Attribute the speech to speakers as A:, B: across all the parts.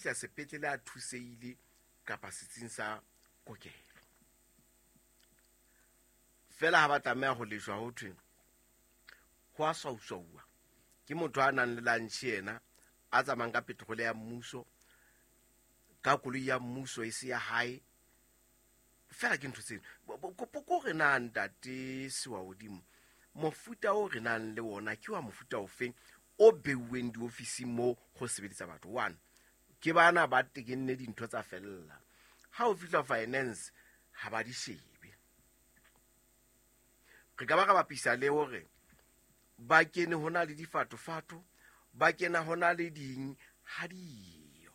A: fihla sepetlele a thusehile kapa setsing sa kokelo. Fela ha ba tlameha ho lejwa ho thwe ho a swauswauwa ke motho a nang le lantšhe yena a tsamayang ka petrole ya mmuso, ka koloi ya mmuso e se ya hae. Fela ke ntho tseno. Kopo ko re na ntate Sewahodimo, mofuta o re nang le wona ke wa mofuta ofeng o beuweng diofising mo go sebedisa batho? One, ke bana ba tekenne dintho tsa fella. Ha o fihla finance ha ba di shebe. Re ka ba ra bapisa le hore ba kene ho na le difatofato, ba kena ho na le ding ha diyo.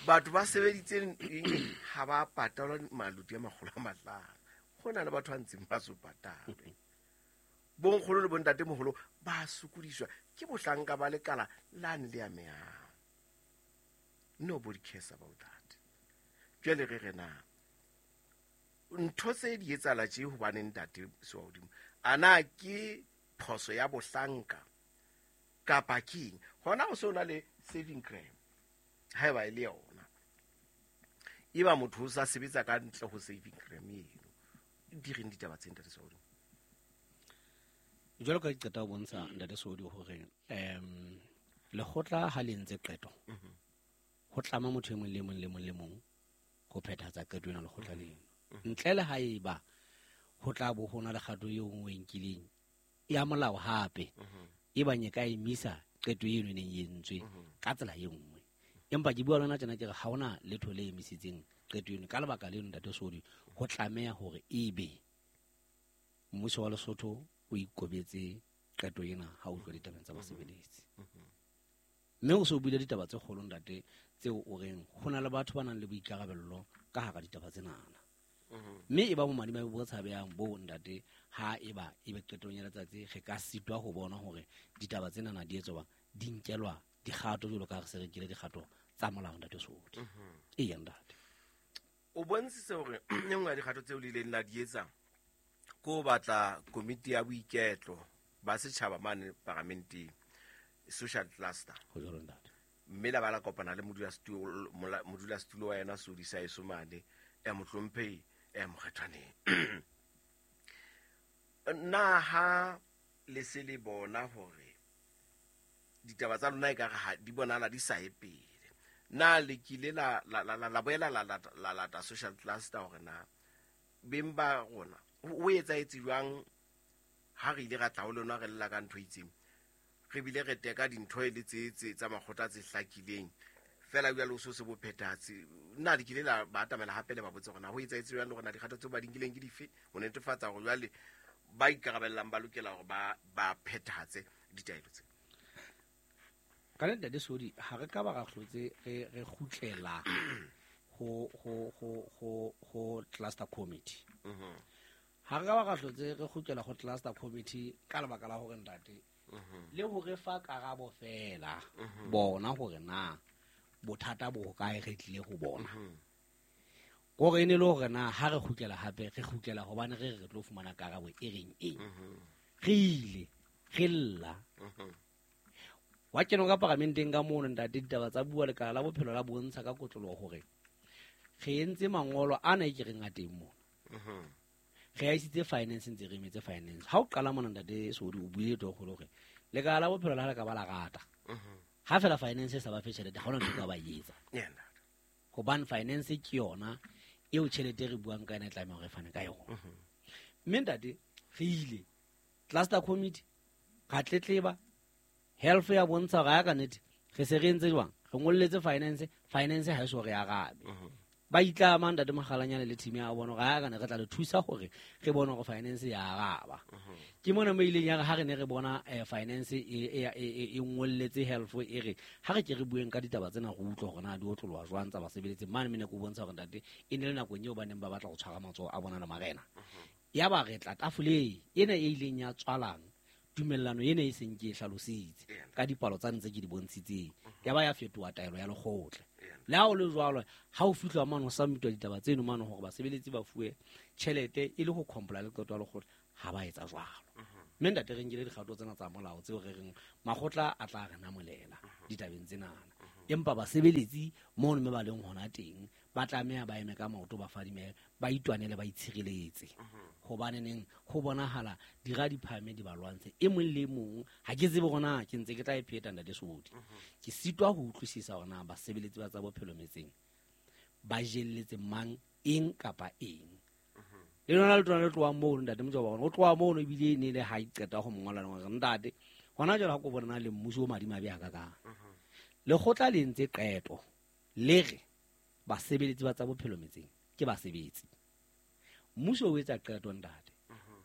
A: Batho ba sebeditseng eng ha ba patalwa maloti a 500. Ho na le batho ba ntseng ba so patalwe. Bonkgono le bontatemoholo ba sokodiswa ke bohlanka ba lekala lane le amehang. Nobody cares about that. Jwale re re na ntho tse di etsahala tje hobane ntate Sewahodimo, a na ke phoso ya bohlanka kapa keng? Hona ho se ho na le saving crime haeba e le yona. Eba motho o sa sebetsa ka ntle ho saving crime eno. Di reng ditaba tse ntate Sewahodimo?
B: Jwalo ka ke qeta ho bontsha ntate Sewahodimo hore lekgotla ha le entse qeto, ho tlama motho e mong le mong le mong le mong ho phethahatsa qeto ena lekgotla leno. Ntle le haeba ho tla bo ho na le kgato eo nngwe e nkileng ya molao hape, e bang e ka emisa qeto eno e neng e entswe ka tsela e nngwe. Empa ke bua le wena tjena ke re ha hona letho le emisitseng qeto eno. Ka lebaka leno ntate Sodi, ho tlameha hore ebe mmuso wa Lesotho o ikobetse qeto ena ha o utlwa ditabeng tsa basebeletsi. Mme o se o buile ditaba tse kgolo ntate tseo o reng ho na le batho ba nang le boikarabello ka hara ditaba tsenana. Mme e ba bomadimabe bo tshabehang bo ntate ha eba ebe qetong ya letsatsi re ka sitwa ho bona hore ditaba tsenana di etswa di nkelwa dikgato jwalo ka re se re nkile dikgato tsa molao ntate Sodi. Eya ntate.
A: O bontshitse hore e nngwe ya dikgato tseo le ileng la di etsa ke ho batla komiti ya boiketlo ba setjhaba mane paramenteng, social cluster.
B: Ho jwalo ntate.
A: Mme la ba la kopana le modulasetulo wa yena Sodi sa eso mane, ya mohlomphehi, ya Mokgethwaneng. Na ha le se le bona hore ditaba tsa lona ekare ha di bonahala di sa ye pele, na le kile la boela la lata social cluster hore na beng ba rona ho etsahetse jwang ha re ile ra tla ho lona re lla ka ntho e itseng, re bile re teka dintho e le tse tsa makgotla tse hlakileng fela jwale o so se bo phethahatse? Na le kile la ba atamela hape le ba botse hore na ho etsahetse jwang le hore na dikgato tseo ba di nkileng ke dife ho netefatsa hore jwale ba ikarabellang ba lokela hore ba phethahatse ditaelo tse?
B: Ka nnete ntate Sodi, ha re ka ba ra hlotse re kgutlela ho cluster committee. Ha re ka ba ra hlotse re kgutlela ho cluster committee ka lebaka la hore ntate le ho re fa karabo fela bona hore na bothata bo hokae re tlile ho bona. Kore e ne le hore na ha re kgutlela hape re kgutlela hobane re re tlo fumana karabo e reng eng. Re ile re lla. Wa kena ka paramenteng ka mono ntate, ditaba tsa bua lekala la bophelo la bontsha ka kotloloho hore re entse mangolo ana e ke reng a teng mona. Re a isitse finance, ntse re emetse finance. Ha o qala mona ntate Sodi o buile toro kgolo hore lekala la bophelo la ha le ka ba la rata. Ha fela finance e sa ba fe tjhelete, ha hona ntho e ka ba e etsa. Hobane finance ke yona eo tjhelete e re buang ka yona e tlameha hore e fane ka yona. Mme ntate re ile cluster committee ra tletleba, health ya bontsha hore ha ka nnete re se re entse jwang, re ngolletse finance, finance ha e so re arabe. Ba itlama ntate Mokgalanyane le team ya bona hore ha ka ne re tla le thusa hore re bone hore finance ya araba. Ke mona mo ileng ya re ha re ne re bona finance e ngolletse health e re ha re ke re bueng ka ditaba tsena re utlwe hore na di otloloha jwang tsa basebeletsi. Mane mene ke o bontsha hore ntate e ne le nakong eo ba neng ba batla ho tshwara matsoho a bona le marena. Ya ba re tla tafoleng ena e ileng ya tswalang tumellano ena e seng ke e hlalositse ka dipalo tsa ntse ke di bontshitseng, ya ba ya fetoha taelo ya lekgotla. Le ha o le jwalo, ha o fihlwa mane ho submitwa ditaba tseno mane hore basebeletsi ba fuwe tjhelete e le ho comply le qeto ya lekgotla, ha ba etsa jwalo. Mme ntate re nkile dikgato tsena tsa molao tseo re reng makgotla a tla re namolela ditabeng tsenana. Empa basebeletsi mono mme ba leng hona teng ba tlameha ba eme ka maoto, ba fadime, ba itwanele, ba itshireletse. Hobane neng ho bonahala dira di phahame di ba lwantshe. E mong le mong ha ke tsebe hore na ke ntse ke tla e pheta ntate Sodi. Ke sitwa ho utlwisisa hore na basebeletsi ba tsa bophelo metseng ba jelletse mang eng kapa eng. Le lona le tona le tlohang mono ntate Motjaba, o tloha mono ebile ne le ha e qeta ho mo ngola hore ntate hona jwale ha ko bona le mmuso o madimabe a kakang. Lekgotla le entse qeto le re basebeletsi ba tsa bophelo metseng ke basebetsi. Mmuso o etsa qeto ntate.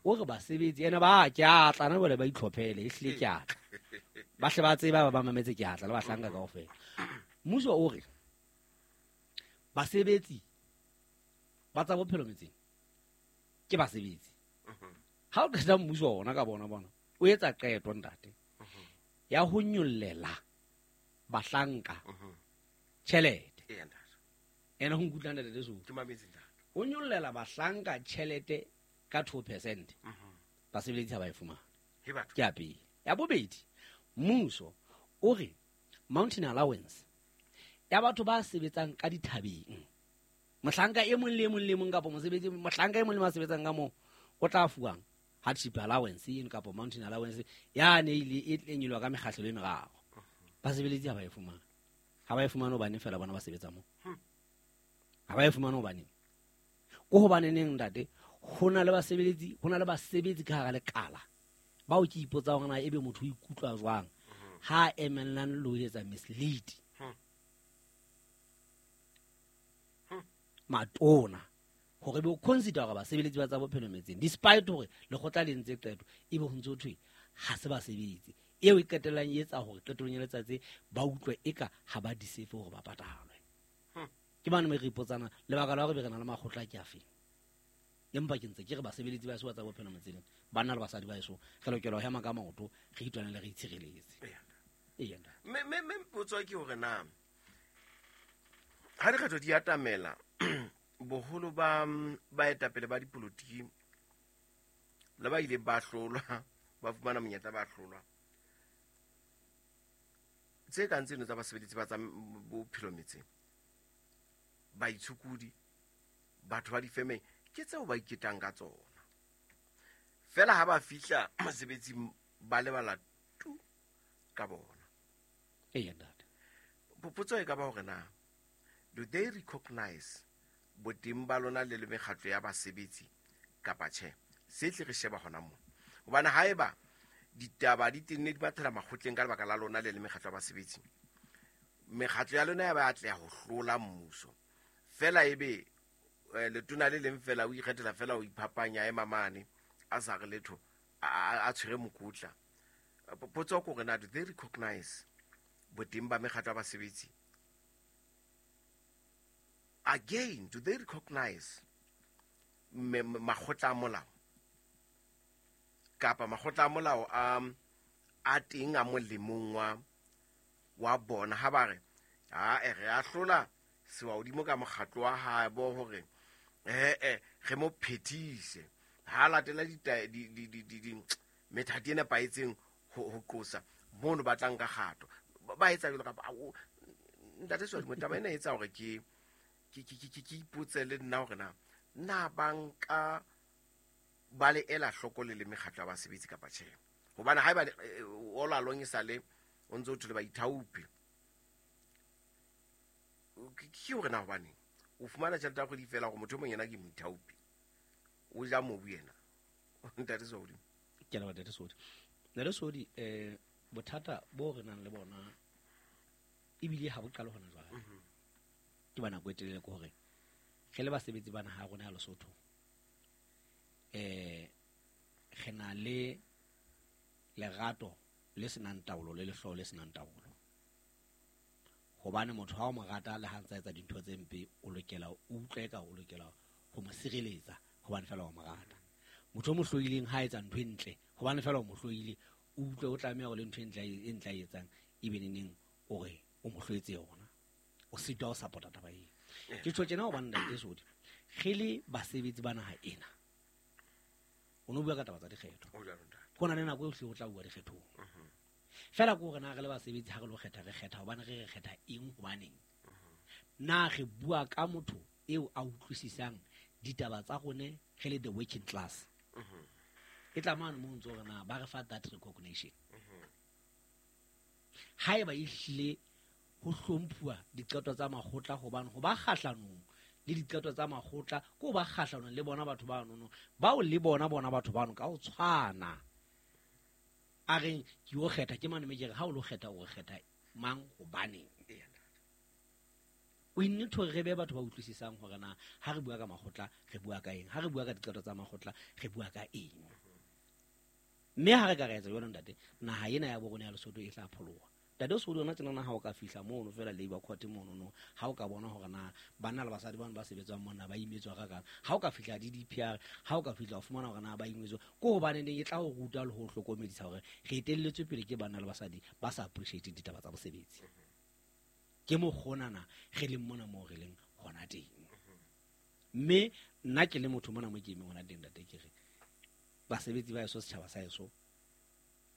B: O re basebetsi ene ba ke a tla na jwale ba itlhophele, ehlile ke a tla. Ba hle ba tseba ba mametse ke a tla le bahlanka kaofela. Mmuso o re basebetsi ba tsa bophelo metseng ke basebetsi. Ha o qeta mmuso ona ka bona bona o etsa qeto ntate ya ho nyollela bahlanka tjhelete. Ena ho nkutlwa ntate Lesotho.
A: Ke mametse ntate.
B: O nyollela bahlanka tjhelete ka 2%. Basebeletsi ha ba e fumana.
A: He batho.
B: Ke ya pele. Ya bobedi, mmuso o re mountain allowance ya batho ba sebetsang ka dithabeng. Mohlanka e mong le mong le mong kapa mosebetsi, mohlanka e mong le mong a sebetsang ka moo o tla fuwang hardship allowance eno kapa mountain allowance ya ne ile e tle nyoloha ka mekgahlelo e meraro. Basebeletsi ha ba e fumane. Ha ba e fumane hobane fela bona ba sebetsa moo. Ha ba e fumane hobane. Ko hobane neng ntate, ho na le basebeletsi, ho na le basebetsi ka hara lekala bao ke ipotsa hore na ebe motho o ikutlwa jwang ha emellang le ho etsa mislead. Matona hore be o consider hore basebeletsi ba tsa bophelo metseng despite hore lekgotla le entse qeto ebe ho ntse ho thwe ha se basebetsi. Eo e qetellang e etsa hore qetellong ya letsatsi ba utlwe eka ha ba deserve hore ba patalwe. Ke mane mo re ipotsana lebaka la hore be re na le makgotla ke afeng. Empa ke ntse ke re basebeletsi ba eso ba tsa bophelo metseng, banna le basadi ba eso, re lokela ho hema ka maoto, re itwanele, re itshireletse. Eya, ntate.
A: Mme potso ke hore na ha dikgetho di atamela boholo ba baetapele ba dipolotiki le ba ileng ba hlolwa, ba fumana monyetla ba hlolwa, tse kang tseno tsa basebeletsi ba tsa bophelo metseng, baitshokodi, batho ba difemeng, ke tseo ba iketang ka tsona. Fela ha ba fihla mosebetsing ba lebala tu ka bona.
B: Eya, ntate.
A: Potso e ka ba hore na do they recognize boteng ba lona le le mekgatlo ya basebetsi kapa tjhe? Se tle re sheba hona moo. Hobane haeba ditaba di tenne di bathela makgotleng ka lebaka la lona le le mekgatlo ya basebetsi, mekgatlo ya lona ya ba atleha ho hlola mmuso. Fela ebe letona le leng fela o ikgethela fela o iphapanya ema mane a sa re letho a tshwere mokotla. Potso ke hore na do they recognize boteng ba mekgatlo ya basebetsi? Again, do they recognize makgotla a molao? Kapa makgotla a molao a teng a molemong wa bona ha ba re, ha re a hlola sewa hodimo ka mokgatlo wa hae bo hore re mo phethise ha latela methati e nepahetseng ho qosa mono ba tlang ka kgato. Ba etsa jwalo kapa ntate Swadimo, taba ena e etsa hore ke ipotse le nna hore na banka ba le ela hloko le le mekgatlo ya basebetsi kapa tjhe. Hobane haeba all along e sale o ntse o thole baithaopi, ke hore na hobaneng o fumana tjhelete ya kgwedi feela hore motho e mong yena ke moithaopi, o ja mobu yena. Ntate Sodi.
B: Ke a leboha ntate Sodi. Ntate Sodi, bothata bo re nang le bona ebile ha bo qale hona jwale. Ke ba nako e telele ke hore re le basebetsi ba naha ya rona ya Lesotho, re na le lerato le senang taolo le lehloyo le senang taolo. Hobane motho ha o mo rata le ha ntsa etsa dintho tse mpe, o lokela o utlwe ka o lokela ho mo sireletsa hobane fela o mo rata. Motho o mo hloileng ha etsa ntho e ntle hobane fela o mo hloile, o utlwe o tlameha hore le ntho e ntle e ntle a e etsang ebe neneng o re o mo hloetse yona. O sitwa ho support-a taba eo. Ke tjho tjena hobane ntate Sodi, re le basebetsi ba naha ena, o no bua ka taba tsa dikgetho.
A: O jwalo, ntate.
B: Ho na le nako e hle o tla bua dikgethong. Fela ko rena re le basebetsi ha re lo kgetha, re kgetha hobane re kgetha eng, hobaneng? Na re bua ka motho eo a utlwisisang ditaba tsa rone re le the working class? E tla mane mo ntse rena ba re fa that recognition. Haeba e hlile ho hlomphuwa diqeto tsa makgotla, hobane ho ba kgahlanong le diqeto tsa makgotla ko ba kgahlanong le bona batho ba nono bao le bona batho bano ka ho tshwana. A reng ke o kgetha ke mane me ke re ha o lo kgetha o kgetha mang, hobaneng? O need to re be batho ba utlwisisang hore na ha re bua ka makgotla re bua ka eng, ha re bua ka diqeto tsa makgotla re bua ka eng. Mme ha re ka re etsa jwalo ntate, naha ena ya bo rona ya Lesotho e tla pholoha. Ntate o se o tjena na ha o ka fihla mono fela Labour Court mono no, ha o ka bona hore na banna le basadi bano ba sebetsang mona ba imetswa ka kang, ha o ka fihla DDPR, ha o ka fihla o fumana hore na ba imetswa ko hobane neng e tla o ruta le ho hlokomedisa hore re etelletswe pele ke banna le basadi ba sa appreciate ditaba tsa bosebetsi. Ke mokgonana re leng mona moo re leng hona teng. Mme nna ke le motho mona mo ke emeng hona teng ntate, ke re basebetsi ba eso, setjhaba sa eso,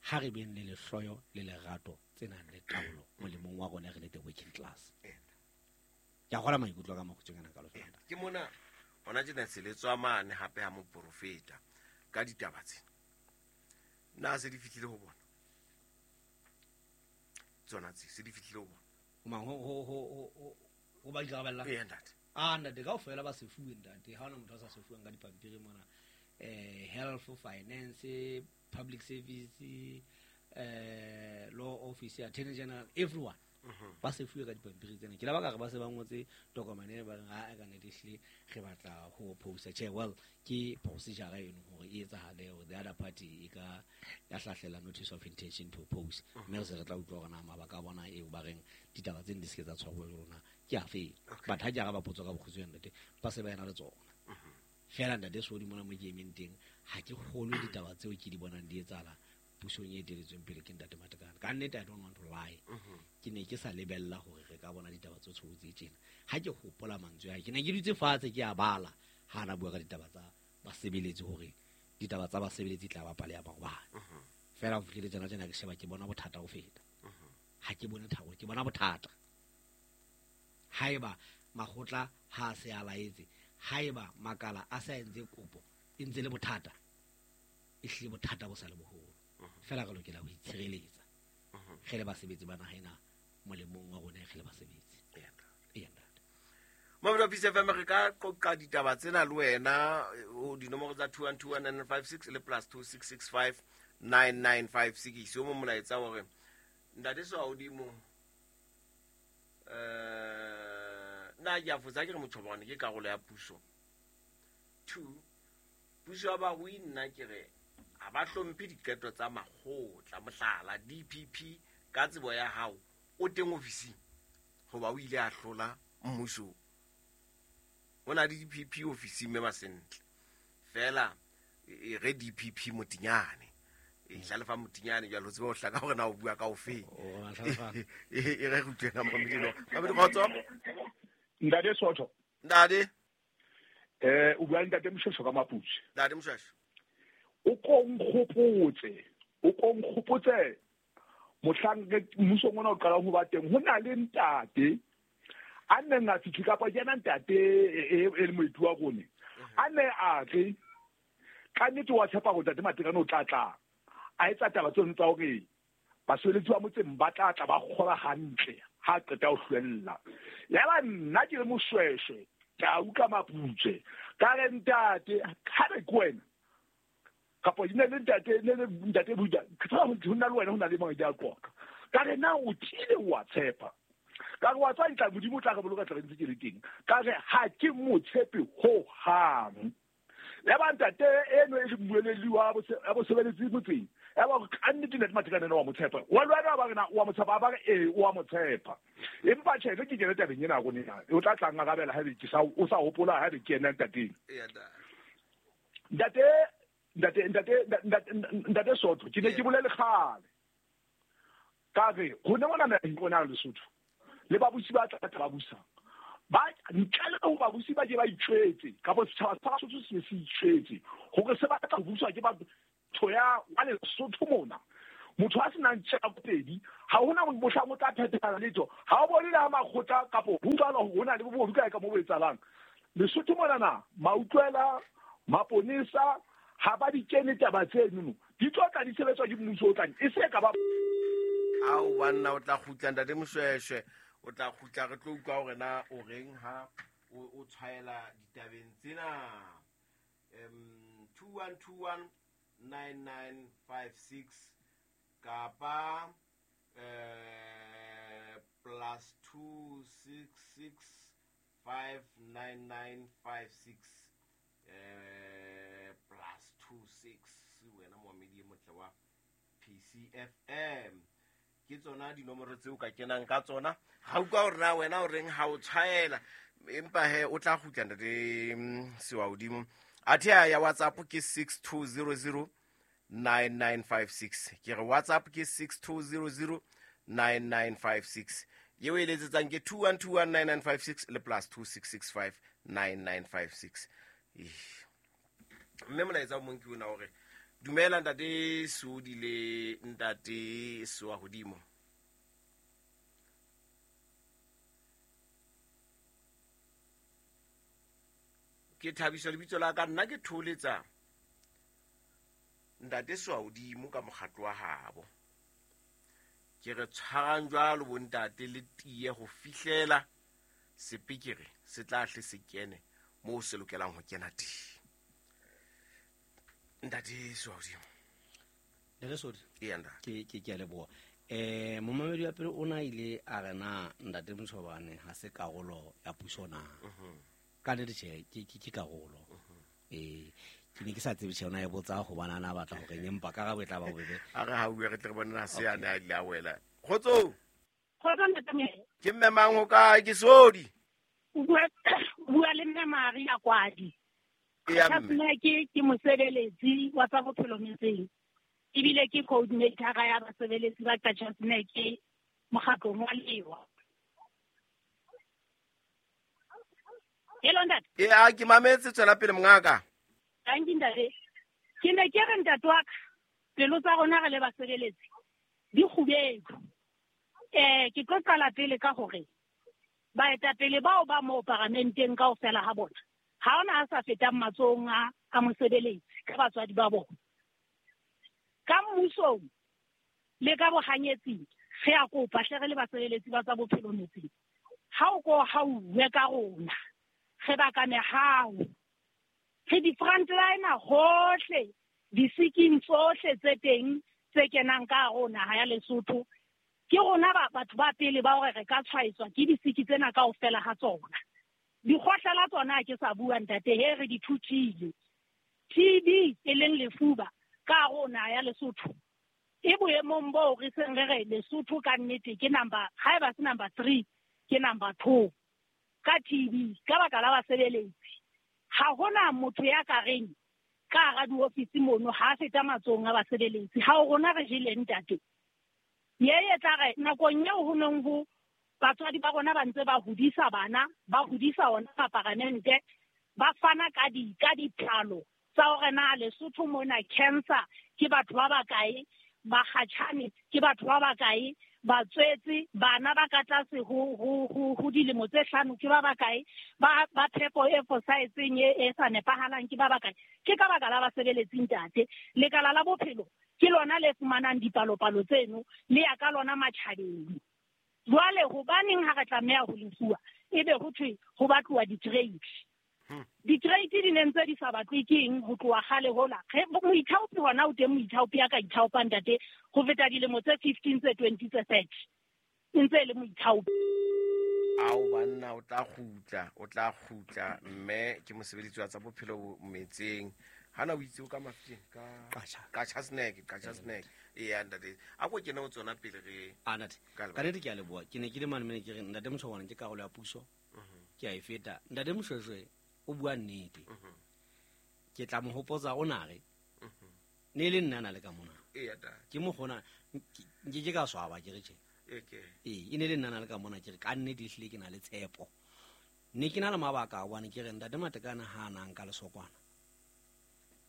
B: ha re beng le lehloyo le lerato tse nang le taolo molemong wa rona re le the working class. Ke a kgola maikutlo ka makgutshweng ana ka lo fela.
A: Ke mona hona tjena se le tswa mane hape ha moprofeta ka ditaba tsena. Na se di fihlile ho bona? Tsona tse se di fihlile ho bona.
B: Mang ho ba ikarabella?
A: Ee, ntate.
B: Ah, ntate, kaofela ba se fuwe ntate. Ha hona motho a sa se fuweng ka dipampiri mona. Health, finance, public service, law office, attorney general, everyone. Ba se fuwe ka dipampiri tsena. Ke la baka re ba se ba ngotse tokomane e ba reng ha ka nnete ehlile re batla ho posta. Che, well, ke procedure eno hore e etsahale hore the other party e ka ya hlahlela notice of intention to oppose. Mme re se re tla utlwa hore na mabaka a bona eo ba reng ditaba tseno di se ke tsa tshwarwa le rona ke afe. But ha ke araba potso ka bokgutshwane ntate, ba se ba ena le tsona. Fela ntate Sodi mona mo ke emeng teng, ha ke kgolwe ditaba tseo ke di bonang di etsahala pusong e eteletsweng pele ke ntate Matekane. Ka nnete, I don't want to lie. Ke ne ke sa lebella hore re ka bona ditaba tse tshobotsi tjena. Ha ke hopola mantswe a, ke ne ke dutse fatshe ke a bala ha na bua ka ditaba tsa basebeletsi hore ditaba tsa basebeletsi tla ba pale ya maobane. Fela ho fihlile tsena tsena ke sheba ke bona bothata ho feta. Ha ke bone thabo, ke bona bothata. Haeba makgotla ha se a laetse, haeba makala a sa entse kopo e ntse le bothata, e hlile bothata bo sa le boholo. Fela re lokela ho itshireletsa re le basebetsi ba naha ena molemong wa rona re le basebetsi. Ee, ntate.
A: Mamelo Peace FM, re ka qoqa ditaba tsena le wena o dinomoro tsa 2121956 le plus 26659956. O mo molaetsa hore ntate Swahodimo, nna ke a fotsa ke re Motjhobane ke karolo ya puso. 2, puso ya barui nna ke re ha ba hlomphe diqeto tsa makgotla, mohlala DPP ka tsebo ya hao o teng ofising hoba o ile a hlola mmuso. O na le DPP ofising mme Masentle. Fela e re DPP Motinyane. E hlalefa Motinyane jwale o tsebe ho hlaka hore na o bua ka ofe. E re ruteng Mamedi. Mamedi kgotso.
C: Ntate Sotho.
A: Ntate.
C: O bua ntate Moshweshwe ka Maputsi.
A: Ntate Moshweshwe.
C: O ko nkgopotse mohlang mmusong ona o qalang ho ba teng, ho na le ntate a neng a fihle kapa ke yena ntate e le moeti wa rone, a ne a re ka nnete wa tshepa hore ntate Matekane o tla tla a etsa taba tseno tsa hore basebeletsi ba motseng ba tla tla ba kgola hantle ha qeta ho hlwella. Yaba nna ke le Moshweshwe tau ka Maputse, ka re ntate ha re ke wena kapa ne le ntate ne le ntate Buda, ke tsaba ho nna le wena ho na le mang di a qoqa. Ka re na o tiile wa tshepa, ka re wa tswa ntla Modimo o tla re boloka tla re ntse ke le teng, ka re ha ke mo tshepe ho hang. Ya ba ntate eno e le mmueledi wa bosebeletsi motseng, ya ba ka nnete ntate Matekane wa mo tshepa, wa lwana ba re na wa mo tshepa, ba re ee wa mo tshepa. Empa tjhe ke kene tabeng ena rona ena, o tla tla ngarabela ha be ke sa o sa hopola ha be ke ena ntateng. Ntate Sotho, ke ne ke bolele kgale ka re rona mona naheng rona Lesotho le babusi ba tla ba busang ba ntle le ho babusi ba ke ba itjwetse kapa setjhaba sa Basotho se se itjwetse hore se batla ho buswa ke batho ya wa Lesotho mona. Motho a senang tjhapedi ha hona mohlang o tla phethala letho. Ha o bone le ha makgotla kapa ho utlwala hore ho na le bobodu kae ka mo bo etsahalang. Lesotho monana mautlwela maponesa ha ba di kene taba tseno di tlo tla di sebetswa ke mmuso o tlang e se ka ba
A: ao banna o tla kgutla ntate Moshweshwe o tla kgutla re tlo utlwa hore na o reng ha o tshwaela ditabeng tsena. 2121 9956 kapa plus 266 59956 plus 26 wena moamedi e motle wa PCFM. Ke tsona dinomoro tseo ka kenang ka tsona. Ha utlwa hore na wena o reng ha o tshwaela empa he o tla kgutla ntate Sewa hodimo. Athe ya WhatsApp ke 6200 9956. Ke re WhatsApp ke 6200 9956. Yeo e letsetsang ke 21219956 le plus 2665 9956. Mme molaetsa o mong ke ona hore dumela ntate Sodi le ntate Sewa hodimo. Ke thabiswa lebitso la ka nna ke tholetsa ntate Sewa hodimo ka mokgatlo wa habo. Ke re tshwarang jwalo bo ntate le tiye ho fihlela sepikere se tla hle se kene moo se lokelang ho kena teng. Ntate Sewa hodimo.
B: Ntate Sodi.
A: Eya ntate.
B: Ke a leboha. Momamedi wa pele o na ile a re na ntate Motshobane ha se karolo ya puso na. Ka nnete tjhe ke karolo. Ke ne ke sa tsebe tjhe ona e botsa hobane a na batla hore empa karabo e tla ba bobebe.
A: A re ha bue re tle re bone na se a ne a ile a wela. Kgotso.
D: Kgotso ntate.
A: Ke mme mang ho kae ke Sodi?
D: O bua le mme Maria Kwadi.
A: Eya mme.
D: Ke mosebeletsi wa tsa bophelo metseng. Ebile ke coordinator ya basebeletsi ba Qacha's Nek mokgatlong wa Lewa. Hello ntate.
A: Ee, ke mametse tswela pele mongaka.
D: Thank you ntate. Ke ne ke re ntate wa ka pelo tsa rona re le basebeletsi di kgubedu. Ke tlo qala pele ka hore baetapele bao ba mo paramenteng kaofela ha bona ha ona a sa fetang matsohong a mosebeletsi ka batswadi ba bona. Ka mmusong le ka bohanyetsing re a kopa hle re le basebeletsi ba tsa bophelo metseng. Ha o ko hauwe ka rona re baka mehau. Re di-frontliner hohle disiking tsohle tse teng tse kenang ka rona ha ya Lesotho. Ke rona batho ba pele ba hore re ka tshwaetswa ke disiki tsena kaofela ha tsona. Dikgohlela tsona ke sa bua ntate he re di thuthile. TB e leng lefuba ka rona ya Lesotho. E boemong boo re seng re re Lesotho ka nnete ke number haeba se number 3 ke number 2 ka TB ka baka la basebeletsi. Ha hona motho ya ka reng ka hara diofisi mono ha feta matsohong a basebeletsi. Ha o rona re jele ntate. Ye e tla re nakong eo ho neng ho batswadi ba rona ba ntse ba hodisa bana, ba hodisa ona maparamente, ba fana ka dipalo tsa hore na Lesotho mona cancer ke batho ba bakae, bakgatjhane ke batho ba bakae, batswetse bana ba ka tlase ho dilemo tse 5 ke ba bakae, ba phepo e fosahetseng e sa nepahalang ke ba bakae. Ke ka baka la basebeletsi ntate. Lekala la bophelo ke lona le fumanang dipalopalo tseno le ya ka lona matjhabeng. Jwale hobaneng ha re tlameha ho lefuwa ebe ho thwe ho batluwa di-grade. Di-grade di ne ntse di sa batlwe ke eng ho tloha kgale hola. Moithaopi hona o teng moithaopi ya ka ithaopang ntate ho feta dilemo tse 15 tse 20 tse 30. E ntse e le moithaopi.
A: Ao banna o tla kgutla mme ke mosebeletsi wa tsa bophelo metseng. Hana o itse o ka mafiteng ka Qacha's Nek. Eya ntate. A ko kene o tsona pele re
B: a ntate. Ka nnete ke a leboha. Ke ne ke le mane mene ke re ntate Motshobane ke karolo ya puso. Ke a e feta. Ntate Moshweshwe o bua nnete. Ke tla mo hopotsa o na re. Ne le nna na le ka mona.
A: Eya ntate.
B: Ke mo gona nke ke ka swaba ke re tjhe. E ne le nna na le ka mona ke re ka nnete ehlile ke na le tshepo. Ne ke na le mabaka a hobane ke re ntate Matekane ha a nang ka lesokwana.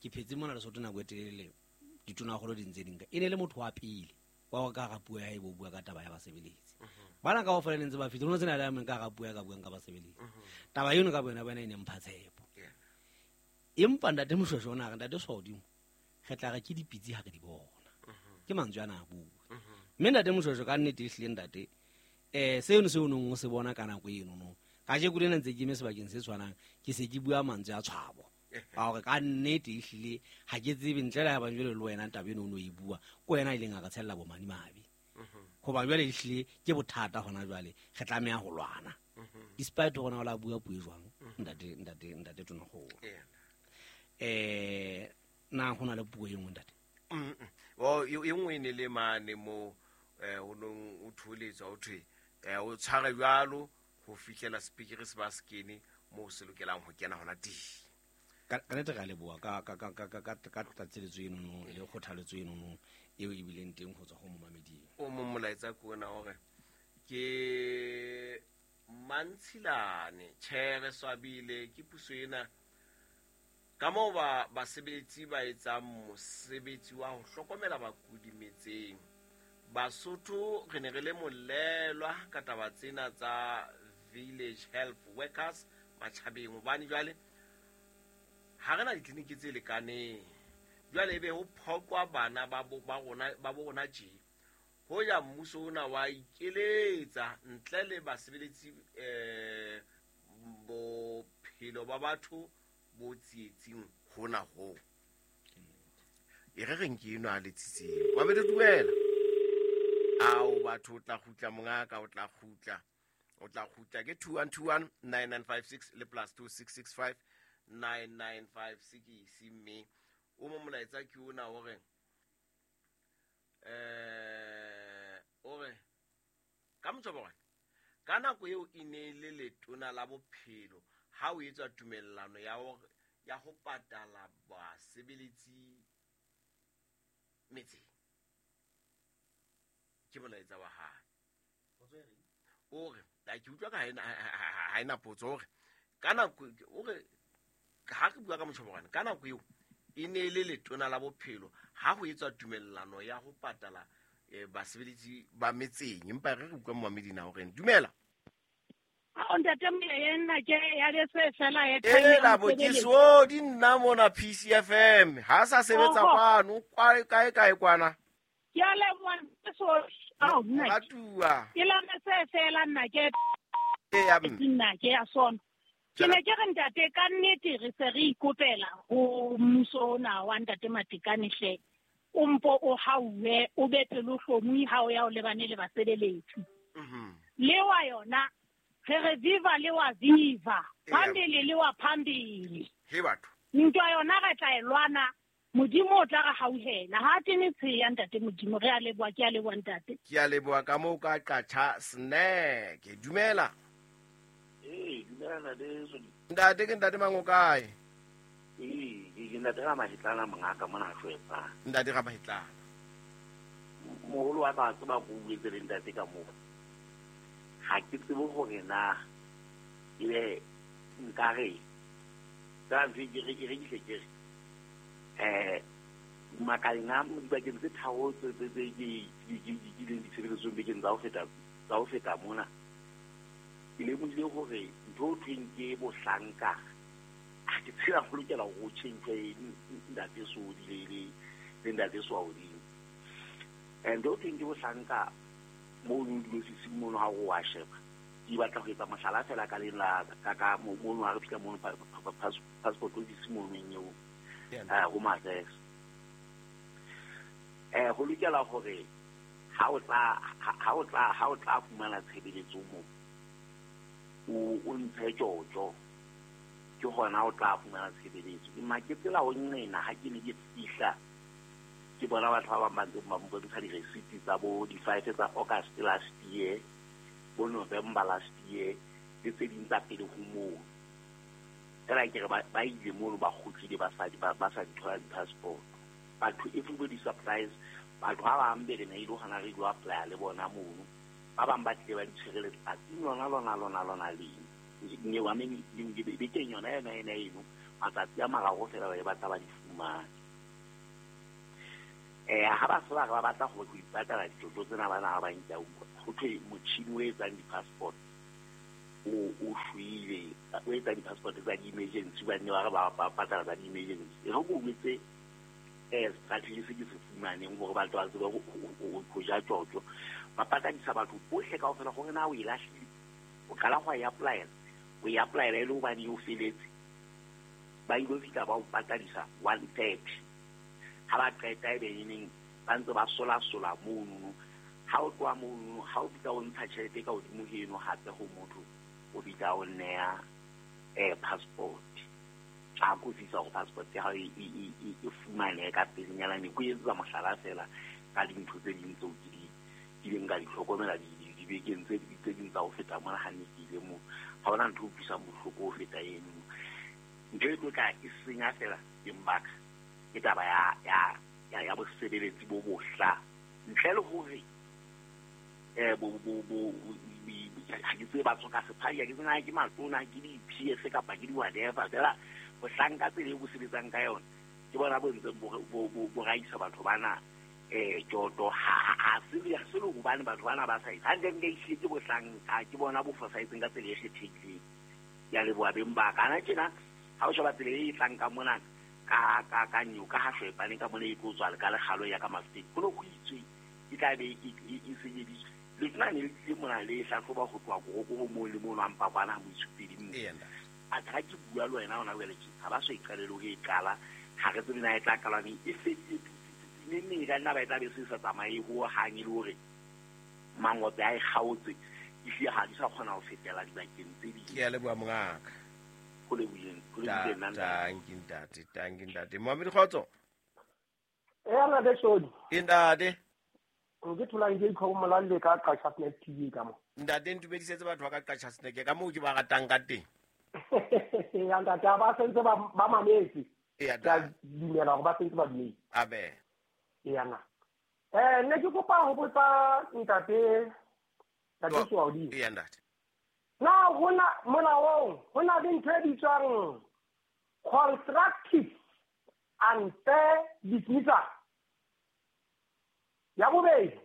B: Ke phetse mona Lesotho nako e telele ditonakgolo di ntse di nka. E ne le motho wa pele wa hore ka hara puo ya hae bo bua ka taba ya basebeletsi. Bana kaofela ne ntse ba fihla, ho no sena le a mong ka hara puo ya ka buang ka basebeletsi. Taba eno ka boyona bona e ne mpha tshepo. Empa ntate Moshweshwe o na re, ntate Swaodimo, re tla re ke dipitsi ha re di bona. Ke mantswe ana a bua. Mme ntate Moshweshwe ka nnete ehlile ntate, seno seo o neng o se bona ka nako eno no. Kajeko lena ntse ke eme sebakeng se tshwanang, ke se ke bua mantswe a tshwabo. Ka hore ka nnete ehlile ha ke tsebe ntle le ha ebang jwale le wena taba eno o no e bua, ke wena a ileng a re tshella bomadimabe. Hoba jwale ehlile ke bothata hona jwale, re tlameha ho lwana. Despite hore na o la bua puo e jwang, ntate, ntate, ntate Tonakgolo. Na ho na le puo e nngwe ntate?
A: O, e nngwe e ne le mane mo, o nong o thoholetswa, o thwe, o tshware jwalo ho fihlela speaker se ba se kene moo se lokelang ho kena hona teng.
B: Ka nnete re a leboha ka tlatseletso eno no, le kgothaletso eno no, eo e bileng teng ho tswa ho momameding.
A: O mong molaetsa ke ona hore ke Mantshilane, tjhe re swabile ke puso ena ka moo basebeletsi ba etsang mosebetsi wa ho hlokomela bakudi metseng. Basotho re ne re le molelwa ka taba tsena tsa village health workers matjhabeng, hobane jwale ha re na ditleliniki tse lekaneng. Jwale ebe ho phoqwa bana ba bo, ba rona, ba bo rona tje. Hoja mmuso ona wa ikeletsa ntle le basebeletsi, bophelo ba batho bo tsietsing hona ho. E re reng ke eno a letsitseng. Wa be le dumela. Ao batho o tla kgutla mongaka, o tla kgutla. O tla kgutla ke 2121 9956 le plus 2665 9956 mme o mo molaetsa ke ona o re, o re ka motsoborwane ka nako eo e ne le letona la bophelo ha o etswa tumellano ya hore ya ho patala basebeletsi metseng. Ke molaetsa wa hae. O re, a ke utlwa ka ha ena potso, o re, ka nako, o re, ha re bua ka motjhoborwane, ka nako eo e ne le letona la bophelo ha ho etswa tumellano ya ho patala, basebeletsi ba metseng. Empa re re utlwa momamedi na hore dumela.
D: Ao ntate Moya, nna ke ya le se fela e
A: E
D: tshwanetse
A: la
D: ho
A: bo ke
D: sebeletsa.
A: so di nna mona PCFM. Ha sa sebetsa
D: Oho.
A: kwano, kwa kae kae kwana.
D: Ke a leboha, ntate Sodi. Ao, nna ke.
A: Ratuwa.
D: Ke la le se fela nna ke.
A: E ya mme.
D: Nna ke ya sona. Ke
A: Jala.
D: ne ke re ntate, ka nnete re se re ikopela ho mmuso ona wa ntate Matekane hle. O mpo o hauwe, o be pelohlomi ha o ya o lebane le basebeletsi. Le wa yona, re re viva le wa viva. Phambili le wa phambili.
A: He batho.
D: Ntwa yona re tla e lwana, Modimo o tla re hauhela. Ha ke ne tsheya ntate Modimo, re a leboha, ke a leboha ntate.
A: Ke a leboha ka moo ka qatjha snack. Dumela.
E: Ee, dumela ntate Sodi.
A: Ntate ke ntate mang o kae?
E: Ee, ke ntate Ramahetlana mongaka mona Shwepa.
A: Ntate Ramahetlana.
E: Moholo wa ka tseba go buetse le ntate ka moo. Ha ke tsebe hore na ebe nkare ka ntho e ke re ke re ke ke re, makaleng a dibakeng tse tharo tse tse tse ke ke ke ke ke leng ditshebeletsong bekeng tsa ho feta, tsa ho feta mona. Ke lemohile hore ntho e thweng ke bohlanka, ha ke tsela ho lokela hore o tjhentjhe ntate Sodi le le le ntate Swaodimo. Ntho e thweng ke bohlanka mono diofising mono ha o wa sheba. Ke batla ho etsa mohlala fela ka leng la ka ka mono ha re fihla mono passport office mono eo. Home Affairs. Ho lokela hore ha o tla fumana tshebeletso moo, o ntshe tjotjo, ke hona o tla fumana tshebeletso. Empa ke tsela ho nqena ha ke ne ke fihla, ke bona batho ba bang ba ntseng ba mpontsha di-receipt tsa bo di-5 tsa August last year, bo November last year, le tse ding tsa pele ho moo. Fela ke re ba ile mono ba kgutlile ba sa di, ba sa di thola di-passport. Batho, everybody surprise. Batho ba bang be re ne ile hona re ilo apply le bona mono. Ba bang ba tlile ba di tshwere letsatsing lona, lona, lona, lona leng. Ne wa me, ne, ne, be teng yona, yona, yona eno. Matsatsi a mararo fela ba e batla ba di fumane. Ha ba se ba re ba batla go ipatala ditšotšo tsena bana ba bantsi a utlwa go thwe motšhini o etsang di-passport o shwele, o etsa di-passport tsa di-emergency, ba nne ba re ba patala tsa di-emergency. E re ko wetse strategy se ke se fumaneng gore batho ba tsebe go ja tjotjo, ba patadisa batho bohle kaofela gore na o e lahlile, o qala go e applyela, o e applyela e le hobane o feletse, ba ile fihla ba o patadisa 130. Ha ba qeta e be neng ba ntse ba sola-sola monono. Ha o tloha monono, ha o bitsa o ntsha tjhelete ka hodimo heno hape ho motho, o bitsa o neya passport. A kofisa hore passport ya hao e fumanehe ka pelenyana. Ne ko etsetsa mohlala fela ka dintho tse ding tseo ke di kileng ka di hlokomela dibekeng tse ding tsa ho feta mona ha ne ke ile moo. Ha hona ntho e utlwisang bohloko ho feta eno. Ntho e tlo tla e senya fela teng baka ke taba ya bosebeletsi bo bohla, ntle le hore ha ke tsebe batho ka sephai, ha ke tsebe na ke matona, ke di-PS kapa ke di-whatever, fela bohlanka tsela e bo sebetsang ka yona ke bona bo ntseng bo raisa batho bana tjotjo. Ha se le hobane batho bana ba sa e hantle, ehlile ke bohlanka, ke bona bo fosahetseng ka tsela e kgethehileng. Ke a leboha beng ba ka. Ana tjena ha o sheba tsela e tlang ka mona ka nyoka ha shwepane ka mona e tlo tswa ka lekgalo ya ka Mafeteng, ho ne ho itswe e tla be e senyeditswe. Letona ne le tlile mona le hlahloba ho tloha korokoro moo le mono a mpa kwana ha moitsupedi moo. Athe ha ke bua le wena hona jwale tje, ha ba so e qalele ho e qala, ha re tsebe na e tla qalwa neng, e fedile neng e ka nna ba e tla be se sa tsamaye ho hang, e le hore mangope a e kgaotse, ehlile ha di sa kgona ho fetela dibakeng tse ding.
A: Ke a leboha mongaka.
E: Ho lebohileng, ho lebohileng nna ntate.
A: Tanki ntate. Mohamedi kgotso.
F: Nna Shodi.
A: Ntate.
F: Ke tholang ke itlhokomela le ka Qacha Snack TV ka mo.
A: Ntate ntumedisetse batho ba ka Qacha Snack ka moo ke ba ratang ka teng.
F: Ya ntate, ba sentse ba mametse. Ke a dumela hore ba sentse ba dumetse.
A: Abe.
F: Ya na. Ne ke kopa ho botsa ntate Soaudi.
A: Ya ntate.
F: Na hona molaong hona le ntho e bitswang constructive unfair dismissal. Ya bobedi,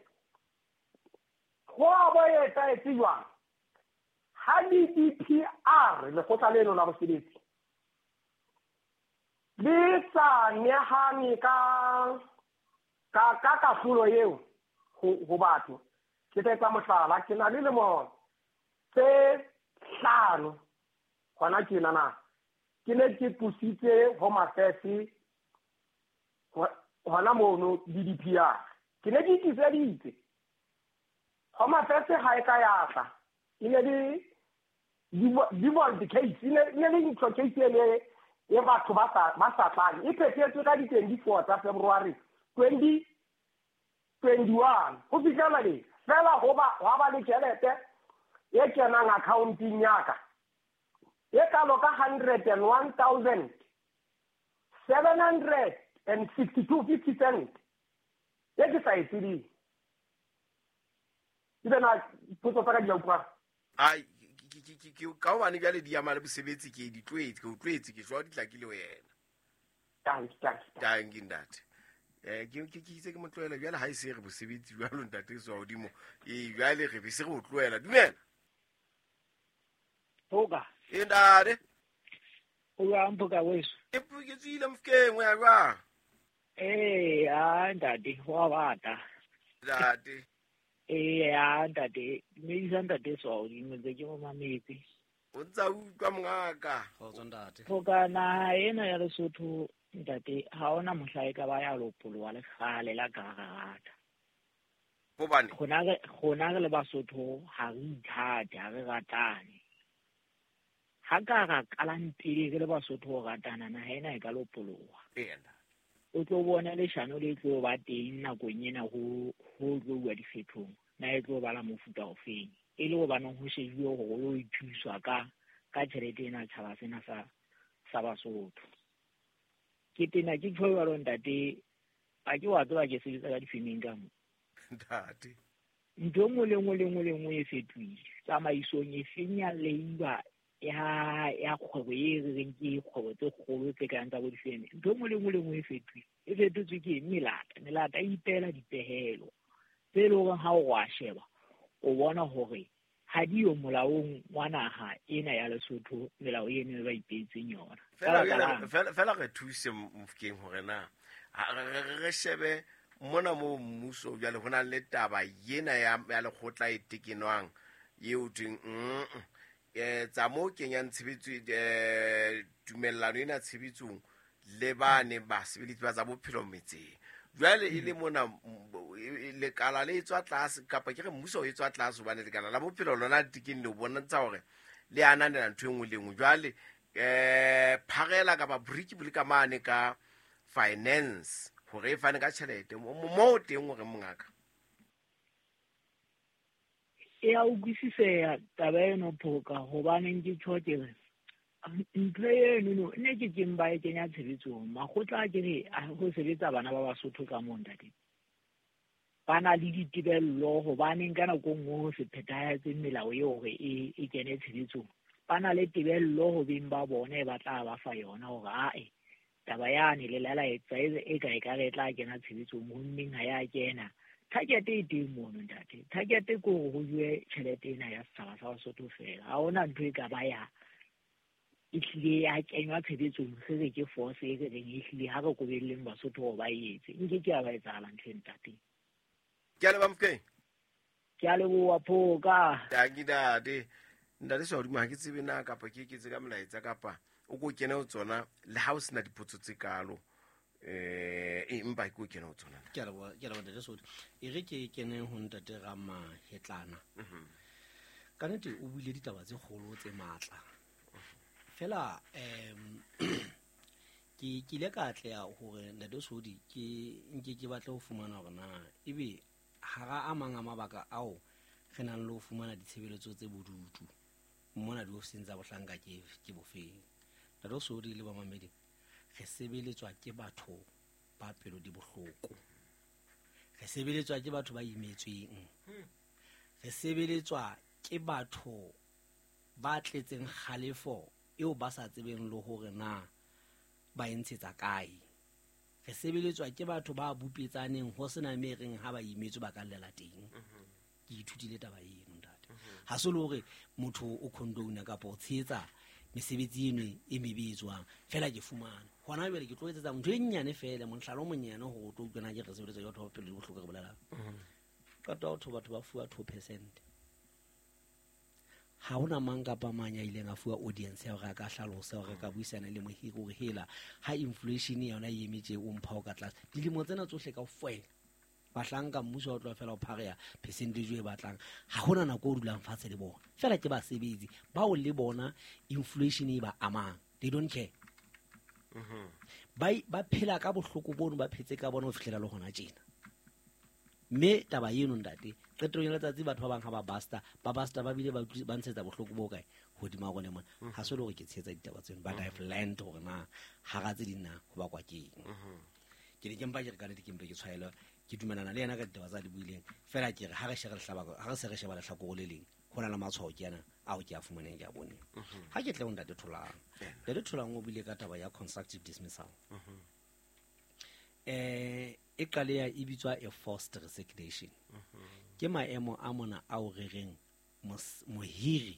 F: ho a bo etsahetse jwang ha di-DPR lekgotla leno la bosebetsi le sa nehane ka kahlolo eo ho batho. Ke tla etsa mohlala, ke na le lemo tse 5 hona tjena na ke ne ke tlositse Home Affairs hona mono DDPR. Ke ne ke itliseditse Home Affairs ha e ka ya tla, e ne le default case, e ne le ntho case e e batho ba sa tlang, e phethetswe ka di-24 tsa February 2021 ho fihlela le fela ho ba le tjhelete e kenang accounteng ya ka e kalo ka 101,762.50 cent e ke sa e tsebeng. Ebe na potso tsa ka di a utlwa?
A: Ai, ka hobane jwale di ama le bosebetsi, ke di tlwaetse, ke o tlwaetse, ke jwa di tlakile ho yena. Tanki ntate. Ke itse ke mo tlohela jwale ha e se re bosebetsi jwalo ntate so hodimo. Jwale re be se re o tlohela. Dumela.
G: Phoka.
A: Ntate.
G: O jwang Phoka weso?
A: Ke tswile Mofokeng, o ya jwang?
G: Ntate, ho a bata.
A: Ntate.
G: Ntate, dumedisa ntate Soaudi, ntse ke mo mametse.
A: O ntsa utlwa mongaka.
B: Kgotso ntate.
G: Phoka naha ena ya Lesotho ntate, ha hona mohla e ka ba ya lopoloha le kgale la ka rata.
A: Hobane
G: rona re le Basotho ha re ithate, ha re ratane. Ha ka ra qalang pele re le Basotho ho ratana, naha ena e ka lopoloha. O tlo bona leshano le tlo ba teng nakong ena ho tlo bua dikgethong, na e tlo ba la mofuta ofeng, e le hobaneng ho shejuwe hore o ithuswa ka tjhelete ena tjhaba sena sa Basotho. Ke tena ke tjho jwalo ntate, a ke wa tseba ke sebetsa ka difemeng ka mo.
A: Ntate.
G: Ntho e nngwe le nngwe le nngwe le nngwe e fetohile. Tsamaisong e feng ya labour ya kgwebo e re reng ke kgwebo tse kgolo tse kang tsa bo difeme, ntho e nngwe le nngwe le nngwe e fetohile. E fetotswe ke eng? Melata. Melata e ipehela dipehelo tse leng hore ha o wa sheba o bona hore ha di yo molaong wa naha ena ya Lesotho, melao eno e ba ipeetseng yona.
A: Fela re thuse Mofokeng hore na re shebe mona mo mmuso jwale ho na le taba yena ya lekgotla e tekenwang eo thweng tsa mo kenyang tshebetso tumellano ena tshebetsong le bane basebeletsi ba tsa bophelo metseng. Jwale e le mona lekala le etswa tlase kapa ke re mmuso o etswa tlase hobane lekala la bophelo lona le tekeng le bontsha hore le ananela ntho e nngwe le nngwe. Jwale pharela kapa briki bo le ka mane ka finance hore e fane ka tjhelete mo teng hore mongaka
G: e a utlwisiseha taba eno Phoka, hobaneng ke tjho ke re ntho eno no ne ke keng ba e kenya tshebetsong. Makgotla a ke re ho sebetsa bana ba Basotho ka moo ntate, ba na le ditebello hobaneng ka nako nngwe ho se phethahetse melao eo hore e kene tshebetsong. Ba na le tebello ho beng ba bona e ba tla ba fa yona hore ae taba yane le lala etsa e ka e ka re tla kena tshebetsong, ho mmeng ha ya kena. Target e teng mono ntate. Target ke hore ho jowe tjhelete ena ya setjhaba sa Basotho fela. Ha hona ntho e ka ba ya e hlile ya kenywa tshebetsong, se re ke force e re reng e hlile ha re kobelleng Basotho hore ba e etse. Nke ke ya ba etsahala ntho e ntate.
A: Ke a leboha Mofokeng.
G: Ke a leboha Phoka.
A: Danki ntate. Ntate Swahodimo ha ke tsebe na kapa ke eketse ka molaetsa kapa o ko kene ho tsona le ha o sena dipotso tse kalo. Empa ke o kene ho tsona.
B: Ke a leboha ntate Sodi. E re ke kene ho ntate Ramahetlana. Ka nnete o buile ditaba tse kgolo tse matla. Fela ke ile ka atleha hore ntate Sodi ke nke ke batle ho fumana hore na ebe hara a mang a mabaka ao re nang le ho fumana ditshebeletso tse bodutu mona diofising tsa bohlanka ke bofeng. Ntate Sodi le bamamedi, re sebeletswa ke batho ba pelo di bohloko, re sebeletswa ke batho ba imetsweng, re sebeletswa ke batho ba tletseng kgalefo eo ba sa tsebeng le hore na ba e ntshetsa kae. Re sebeletswa ke batho ba bupetsaneng ho sena me reng ha ba imetswe ba ka llela teng. Ke ithutile taba eno ntate. Ha se le hore motho o condone kapa o tshehetsa mesebetsi eno e mebe e tswang, fela ke fumana hona jwale ke tlo etsetsa ntho e nnyane fela, mohlala o monyane hore o tlo utlwa na ke re sebeletsa ke batho ba pelo di bohloko re bolelang. Qeta ho batho ba fuwa 2%. Ha hona mang kapa mang ya ileng a fuwa audience ya hore a ka hlalosa hore ka buisana le mohiri hore hela ha inflation yona e emetse o mpha o ka tlase. Dilemo tsena tsohle kaofela bahlanka mmuso o tlo fela o phareya percentage e batlang. Ha hona nako o dulang fatshe le bona. Fela ke basebetsi bao le bona inflation e ba amang. They don't care. Ba phela ka bohloko bono ba phetse ka bona ho fihlela le hona tjena. Mme taba eno ntate, qetellong ya letsatsi batho ba bang ha ba basta, ba basta ba bile ba ntshetsa bohloko bo kae hodima rona mona. Ha se le hore ke tshehetsa ditaba tseno, but I've learned hore na hara tse ding na ho bakwa ke eng. Ke ne ke mpa ke re ka nnete ke mpe ke tshwaelwe, ke dumelana le yena ka ditaba tsa di buileng. Fela ke re ha re shebe lehlaba, ha re se re sheba lehlakore le leng, ho na le matshwao ke ana ao ke a fumaneng ke a boneng. Ha ke tle ho ntate Tholang. Ntate Tholang o buile ka taba ya constructive dismissal. E qaleha e bitswa a forced resignation. Ke maemo a mona ao re reng mohiri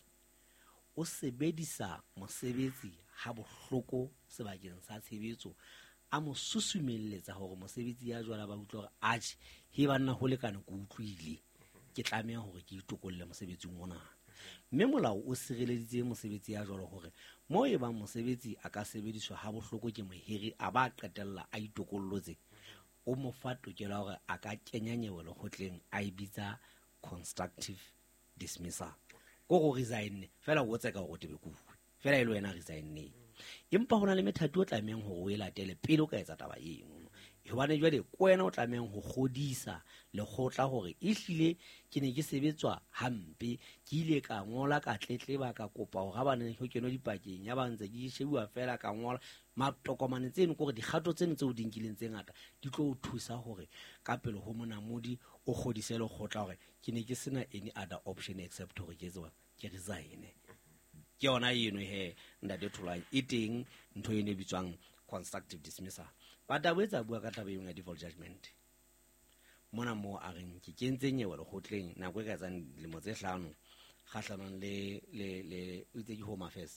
B: o sebedisa mosebetsi ha bohloko sebakeng sa tshebetso, a mo susumelletsa hore mosebetsi ya jwala ba utlwe hore atjhe, he banna ho lekane ke utlwile, ke tlameha hore ke itokolle mosebetsing ona. Mme molao o sireleditse mosebetsi ya jwalo hore mo e bang mosebetsi a ka sebediswa ha bohloko ke mohiri a ba qetella a itokollotse, o mo fa tokelo ya hore a ka kenya nyewe lekgotleng a e bitsa constructive dismissal. Ko go resign fela o tseka hore o tebe kuwe fela e le wena resigneng. Empa hona le methati o tlamehang hore o e latele pele o ka etsa taba eno. Hobane jwale ke wena o tlamehang ho kgodisa lekgotla hore ehlile ke ne ke sebetswa hampe, ke ile ka ngola ka tletleba ka kopa hore ha ba ne ho kenwe dipakeng ya ba ntse ke shebuwa fela ka ngola matokomane tseno, ke hore dikgato tseno tseo di nkileng tse ngata di tlo o thusa hore ka pele ho monamodi o kgodise lekgotla hore ke ne ke sena any other option except hore ke etse ke resign. Ke yona eno he, ntate Tholang, e teng ntho eno e bitswang constructive dismissal. But a boetse a bua ka taba eno ya default judgment mona moo a reng ke kentse nyewe lekgotleng nako e ka etsang dilemo tse 5 kgahlanong le o itse ke Home Affairs.